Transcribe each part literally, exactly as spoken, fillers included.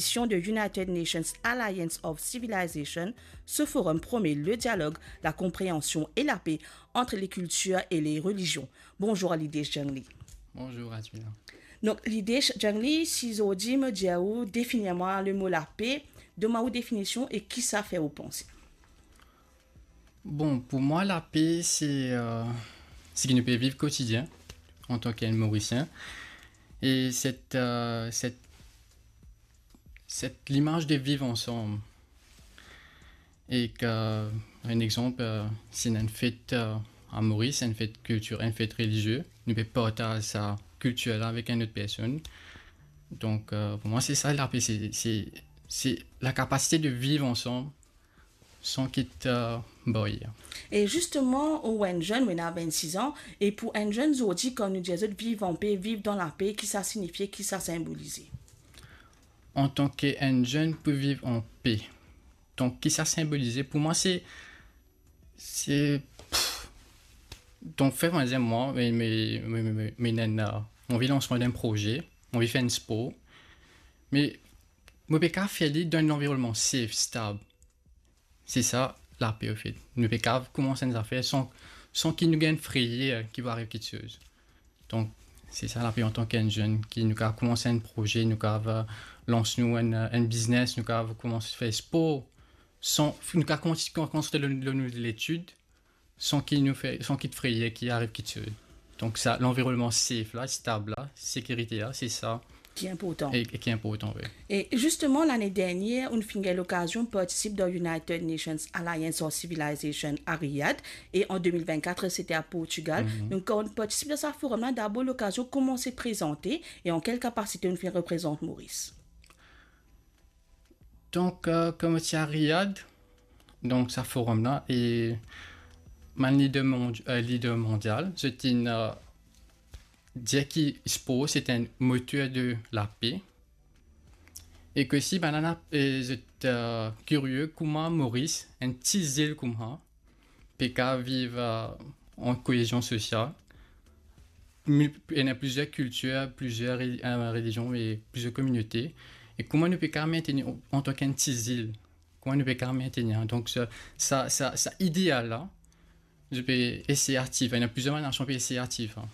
édition de United Nations Alliance of Civilization, ce forum promet le dialogue, la compréhension et la paix entre les cultures et les religions. Bonzour Lidesh Jangli. Bonzour Asmila. Donk Lidesh Jangli, si zordi mo dir ou, definir mwa lemo lape, donn mwa ou definision e ki sa fer ou panse? Bon, pou mwa, lape, se, euh, seki nou pe viv kotidien antan ki enn Morisien. E set, euh, set, set limaz de viv ansam. E ki, enn exanp, euh, si ena enn fet, euh, a Moris, enn fet kiltir, enn fet relizie, nou pe partaz sa kiltir la avek enn lot personn. Donk, euh, pou mwa, se sa, lape, se, se, se lakapasite de viv ansam san ki ti, euh, baryer. E zisteman, ou enn zenn, ou ena vennsis an, e pou enn zenn zordi, kan nou dir zot viv an pe, viv dan lape, ki sa sinifie, ki sa sinbolize? Antan ki enn zenn pou viv an pe. Donk, ki sa sinbolize? Pou mwa, se, se, pff. Donk, fer mwa, mwa, me, me, me, me, me, ena, euh, mo anvi lans enn proze, mo anvi fer enn spor, me mo pe kav fer li dan enn lanvironnman safe, stab. Se sa, lape, anfet. Nou pe kav koumans enn zafer san, san ki nou gagn frayer ki pou ariv kiksoz. Donk, se sa, lape antan ki enn zenn, ki nou kav koumans enn proze, nou kav, euh, lans nou enn, euh, enn biznes, nou kav koumans fer spor, san, nou kav koumans, koumans lor, lor nou letid, san ki nou fer, san ki frayer ki ariv kiksoz. Donk sa, lanvironnman safe la, stab la, sekirite la, se sa ki inportan. E, e ki inportan, wi. E zisteman, lane dernier, ou finn gagn lokazion partisip dan United Nations Alliance of Civilization a Riyad, e an de mil vennkat, sete a Portigal. Mhm. Donk, kan ou partisip dan sa forum la, dabor lokazion kouma ou prezante, e an kel kapasite ou finn reprezant Moris? Donk, euh, kouma ti a Riyad, donk sa forum la, e bann lider mondi-, euh, lider mondial, zot inn, euh, dir ki spor se enn moter de lape, e ki si bann la, e zot, euh, kirie kouma Moris, enn ti zil koumsa, pe kav viv, euh, an koezion sosial. Mi-, ena plizier kiltir, plizier re-, euh, relizion e plizier kominote. E kouma nou pe kav mentenir antan ki enn ti zil? Kouma nou pe kav mentenir? Donk sa, sa, sa, sa ideal la, nou pe esey ativ, ena plizier bann nasion pe esey ativ, hein.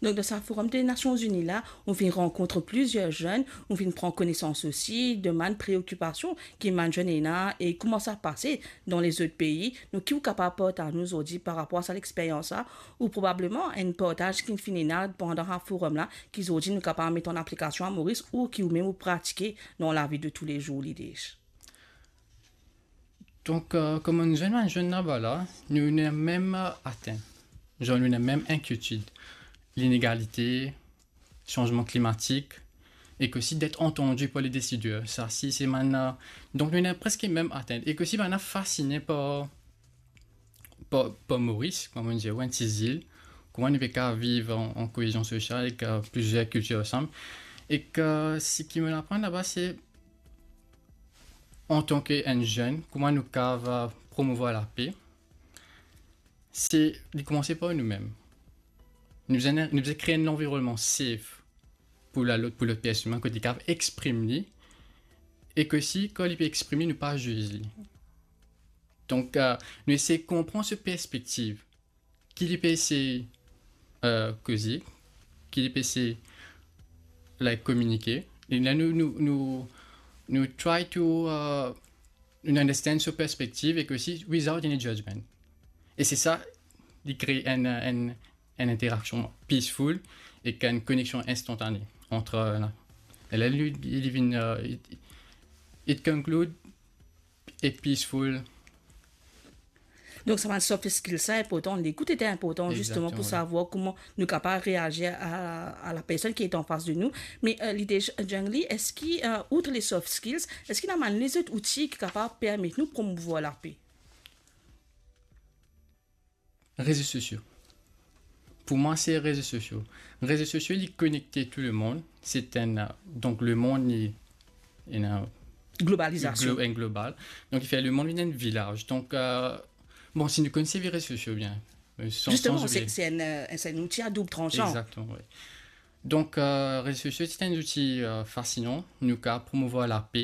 Donk, dan sa Forum de Nasion Zini la, ou finn rankont plizier zenn, ou finn pran konesans osi de bann preokipasion ki bann zenn ena e kouma sa pase dan lezot pei. Donk, ki ou kapav partaz nou zordi par rapor a sa lexperyans la, ou probableman enn partaz ki finn ena pandan sa forum la, ki zordi nou kapav met an aplikasion a Moris ou ki ou mem ou pratike dan lavi de toulezour, Lidesh? Donk, euh, kouma nou zenn, bann zenn laba la, nou ena mem, euh, atenn. Zan, nou ena mem inkietid, linegalite, sanzman klimatik, e ki osi d'être entendu par les décideurs. Sa si, se bann, euh, donk nou ena preske mem atenn. E ki osi bann la fasine par, par, par Moris, kouma nou dir, ou enn ti zil, kouma nou pe kav viv an, an koezion sosial ek, euh, plizier kiltir ansam. E ki, seki mo aprann laba, se antan ki enn zenn, kouma nou kav, euh, promouvwar lape, se, li koumanse par nou mem. Nou bizin, nou bizin kre enn lanvironnman safe pou lalot, pou lot personn, kot li kav exprim li, e ki osi, kan li pe exprim li, nou pa ziz li. Donk, euh, nou esey konpran so perspektiv, ki li pe esey, euh, koze, ki li pe esey, like, kominike. E la, nou, nou, nou, nou try to, euh, nou understand so perspektiv e ki osi without any judgment. E se sa, li kre enn, enn, enn interaksion peaceful ek enn koneksion instantane ant, euh, la. E la, li, li vinn, euh, it, it conclude e peaceful. Donk, sa bann soft skills, sa inportan. Lekout ete inportan, zisteman, pou savwar kouma nou kapav reazir a, a la personn ki ete anfas de nou. Me, euh, Lidesh Jangli, eski, euh, outre les soft skills, eski ena bann lezot outi ki kapav permet nou promouvwar lape? Rezo sosio. Pou mwa, se rezo sosio. Rezo sosio, li konekte tou lemond. Se enn, euh, donk lemond, li, ena globalizasion. Glo-, enn global. Donk, li fer lemond vinn enn vilaz. Donk, euh, bon, si nou konn servi rezo sosio bien, euh, san, zisteman, san se, oubliye, se enn, euh, se enn outi a doub transan. Egzakteman, wi. Donk, euh, rezo sosio ti enn zouti, euh, fasinan, nou kapav promouvwar lape,